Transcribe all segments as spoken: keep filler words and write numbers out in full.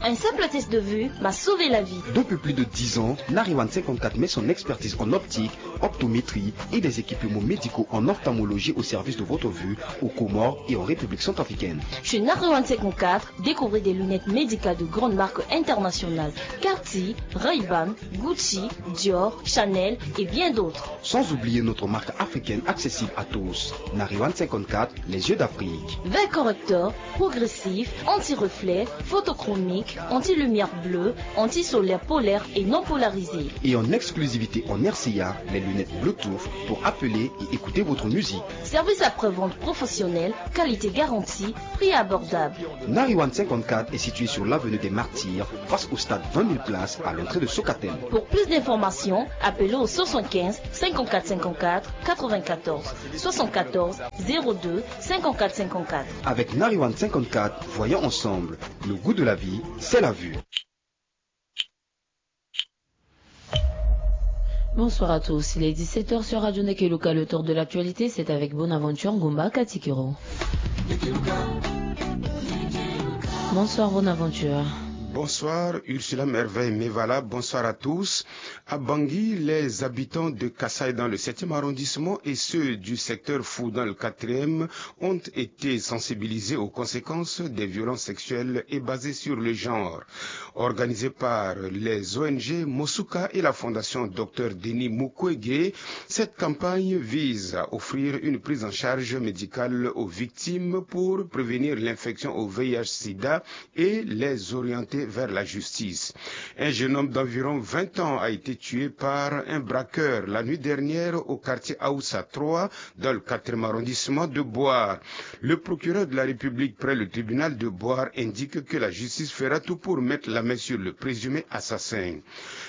Un simple test de vue m'a sauvé la vie. Depuis plus de dix ans, Nariwan cinquante-quatre met son expertise en optique, optométrie et des équipements médicaux en ophtalmologie au service de votre vue aux Comores et en République centrafricaine. Chez Nariwan cinquante-quatre, découvrez des lunettes médicales de grandes marques internationales, Cartier, Ray-Ban, Gucci, Dior, Chanel et bien d'autres. Sans oublier notre marque africaine accessible à tous, Nariwan cinquante-quatre, les yeux d'Afrique. Verre correcteur, progressif, anti-reflet, photochromique, anti-lumière bleue, anti-solaire polaire et non polarisée. Et en exclusivité en R C A, les lunettes Bluetooth pour appeler et écouter votre musique. Service après-vente professionnel, qualité garantie, prix abordable. Nariwan cinquante-quatre est situé sur l'avenue des Martyrs, face au stade vingt mille places à l'entrée de Socatel. Pour plus d'informations, appelez au soixante-quinze cinquante-quatre cinquante-quatre quatre-vingt-quatorze, soixante-quatorze zéro deux cinquante-quatre cinquante-quatre. Avec Nariwan cinquante-quatre, voyons ensemble. Le goût de la vie, c'est la vue. Bonsoir à tous. Il est dix-sept heures sur Radio Nekeluka. Le tour de l'actualité, c'est avec Bonaventure Ngumba Katikiro. Bonsoir Bonaventure. Bonsoir Ursula Merveille Mevala. Bonsoir à tous. À Bangui, les habitants de Kasaï dans le septième arrondissement et ceux du secteur Fou dans le quatrième ont été sensibilisés aux conséquences des violences sexuelles et basées sur le genre. Organisée par les O N G Mosuka et la fondation Docteur Denis Mukwege, cette campagne vise à offrir une prise en charge médicale aux victimes pour prévenir l'infection au V I H sida et les orienter vers la justice. Un jeune homme d'environ vingt ans a été tué par un braqueur la nuit dernière au quartier Aoussa trois, dans le quatrième arrondissement de Boar. Le procureur de la République près le tribunal de Boar indique que la justice fera tout pour mettre la main sur le présumé assassin.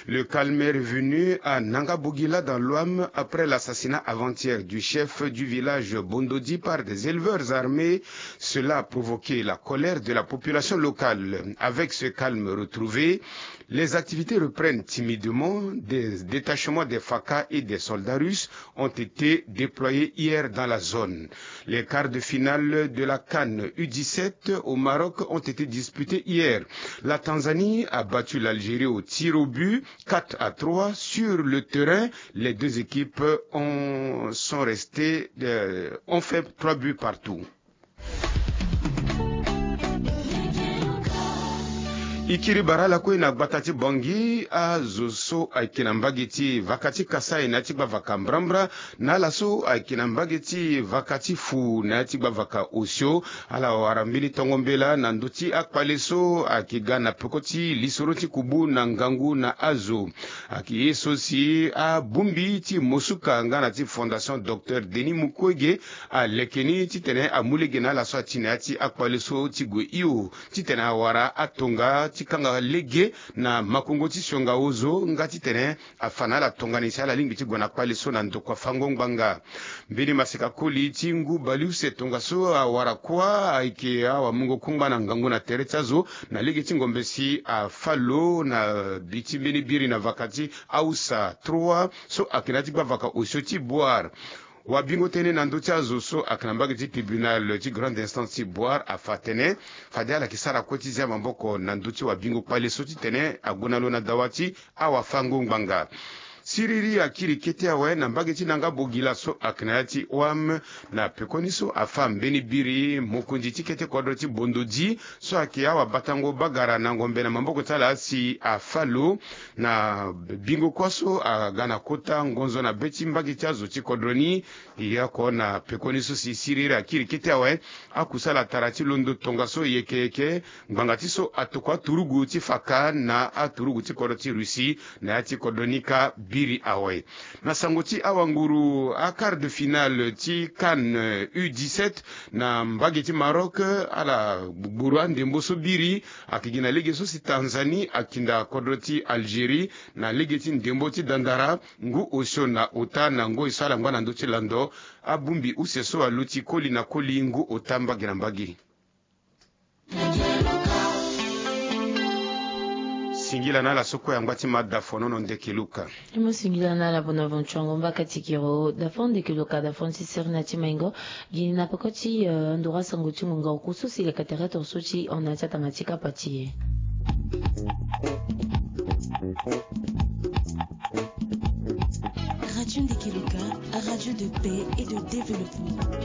Le calme est revenu à Nanga Bogila dans l'Ouham après l'assassinat avant-hier du chef du village Bondodi par des éleveurs armés. Cela a provoqué la colère de la population locale. Avec ce calme retrouvé, les activités reprennent timidement. Des détachements des FACA et des soldats russes ont été déployés hier dans la zone. Les quarts de finale de la CAN U dix-sept au Maroc ont été disputés hier. La Tanzanie a battu l'Algérie au tir au but, quatre à trois. Sur le terrain, les deux équipes ont, sont restées, euh, ont fait trois buts partout. E kiri bara ala kue na gbata ti Bangui, azo so ayeke na mbage ti vaka ti Kasaï na ya ti gbavaka Mbrambra, na ala so ayeke na mbage ti vaka ti Fou na ya ti gbavaka Osio, ala wara mbeni tongo mbela na ndö ti akpale so ayeke ga na peko ti lisoro ti kubu na ngangu na azo. Ayeke ye so si abongbi ti Mosuka nga na ti Fondation Docteur Denis Mukwege aleke ni titene amu lege na ala so ati na ya ti akpale so ti gue hio titene awara atonga ti kanga lege na makongo ti sionga ozo nga titene afa na ala tongana nyen si ala lingbi ti gue na kpale so na ndokua fango ngbanga. Mbeni maseka koli ti ngu baleuse tongaso awara kuâ ayeke awamungo kungba na ngangu na tere ti azo na lege ti ngombe si afa lo na bi ti mbeni biri na vaka ti Aoussa trois so ayeke na ya ti gbavaka Osio ti Boar. Wabingo tënë na ndö ti azo so ayeke na mbage ti tribunal ti grande instance ti Boar afa atene fade ala yeke sara kue ti zia maboko na ndö ti wabingo kpale so titene ague na lo na dawa ti awafango ngbanga. Siriri akiri kete awe na mbage ti Nanga Bogila so ayeke na ya ti Ouham, na pekoni so afa mbeni biri mokonzi ti kete kodro ti Bondodi so ayeke awabatango bagara na ngombe na maboko ti ala si afa lo na bingo kuâ so aga na kota ngonzo na be ti mbage ti azo ti kodro ni. E ye oko na pekoni so si siriri akiri kete awe, akusala tara ti londo tongaso yeke yeke ngbanga ti so atokua aturugu ti faka na aturugu ti kodro ti Russie na ya ti kodro ni kâ biri awe. Na sango ti awanguru, a quart de finale ti CAN U dix-sept na mbage ti Maroc, ala gbugburu andembo so biri ayeke gi na lege so si Tanzanie akinda kodro ti Algérie na lege ti ndembo ti dandara ngu osio na ota na ngoi so ala ngba na ndö ti lando abongbi use so aluti koli na koli ngu ota mbage na mbage. Singila na ala so kue angba ti ma dafono no ndeke Luka. E mo singila na ala bona vontuango mbaka tikiro dafono ndeke Luka dafono ti sere na ti maingo. Gi na peko ti eh, ndura sango ti ngonga oku so si leka tere tonso ti hon na ti atanga ti kapa ti e. Radio Ndeke Luka, radio de paix et de développement.